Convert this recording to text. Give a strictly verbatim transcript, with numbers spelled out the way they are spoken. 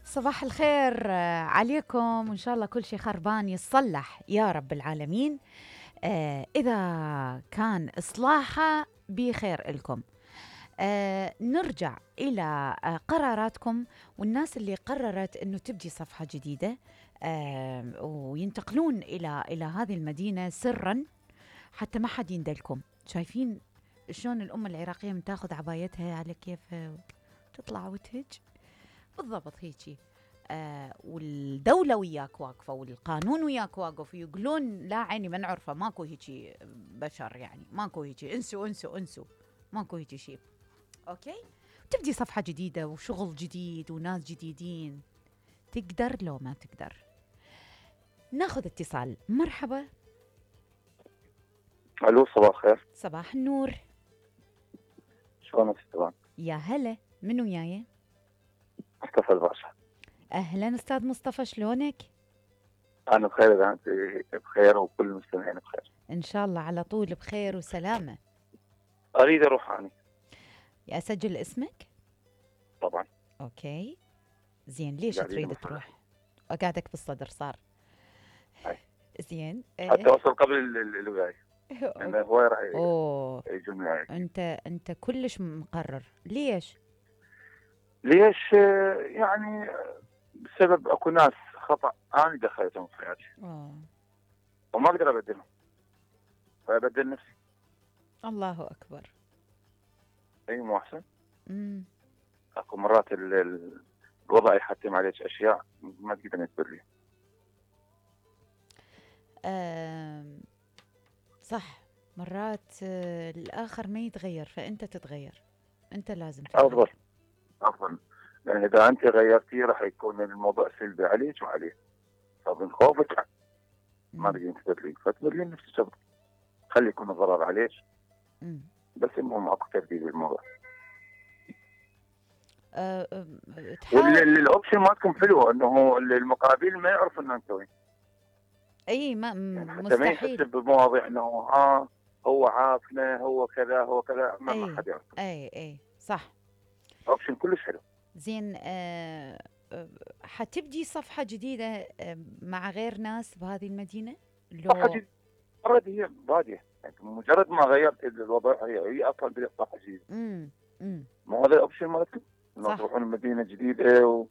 صباح الخير آه، عليكم، وإن شاء الله كل شيء خربان يتصلح يا رب العالمين. آه إذا كان إصلاحه بخير لكم. آه نرجع إلى آه قراراتكم، والناس اللي قررت أنه تبدي صفحة جديدة آه وينتقلون إلى إلى هذه المدينة سرا حتى ما حد يندلكم. شايفين شلون الأمة العراقية من تاخذ عبايتها على كيفها وتطلع وتهج بالضبط هيجي. آه والدولة وياك واقفة والقانون وياك واقف، ويقولون لا عيني ما نعرفه، ماكو هيجي بشر، يعني ماكو هيجي، انسوا انسوا انسوا، ماكو هيجي شيء. اوكي، تبدي صفحة جديدة وشغل جديد وناس جديدين. تقدر لو ما تقدر؟ ناخذ اتصال. مرحبا. الو صباح الخير. صباح النور. شلونك طبعا؟ يا هلا، من وياي؟ مصطفى الباشا. اهلا استاذ مصطفى، شلونك؟ انا بخير، اذا انت بخير وكل المستمعين بخير ان شاء الله على طول بخير وسلامة. اريد اروح اني. اسجل اسمك؟ طبعا. اوكي زين، ليش قاعدين تريد بصدر. تروح؟ وقعدك بالصدر صار. هاي. زين. حتى اوصل قبل ال- ال- الولايه، لان هو راح اوه يجون معي. انت انت كلش مقرر. ليش؟ ليش؟ آه، يعني بسبب اكو ناس خطا انا دخلتهم في حياتي أوه. وما اقدر ابدلهم، فابدل نفسي. الله اكبر. اي مو احسن؟ امم اكو مرات ال- ال- الوضع يحتم عليك اشياء ما تقدر تبدلها. آم، صح. مرات آه، الاخر ما يتغير، فانت تتغير. انت لازم تتغير. افضل افضل، لان اذا انت غيرتي راح يكون الموضوع سلبي عليك وعليه، فمن خوفك ما مم. تقدرين تبدلين، فتبدلين نفسك افضل. خلي يكون الضرر عليك، مم. بس المهم اكو تبديل بالموضوع. آه، آه، تحاول. والاوبشن مالتكم حلو، انه المقابل ما يعرف ان انت وين. اي ما يعني حتى ما يحس مستحيل. بمواضيع انه ها هو عافنا، هو كذا هو كذا، ما, ما اي حد يعرف. اي اي صح. اوبشن كلش حلو. زين. آه آه، حتبدي صفحة جديدة آه مع غير ناس بهذه المدينة؟ صفحه لو جديده، مجرد هي باديه، يعني مجرد ما غيرت الوضع هي هي اصلا بدات صفحه جديده. امم امم مو هذا الاوبشن مالتكم؟ انه صح. تروحون مدينه جديده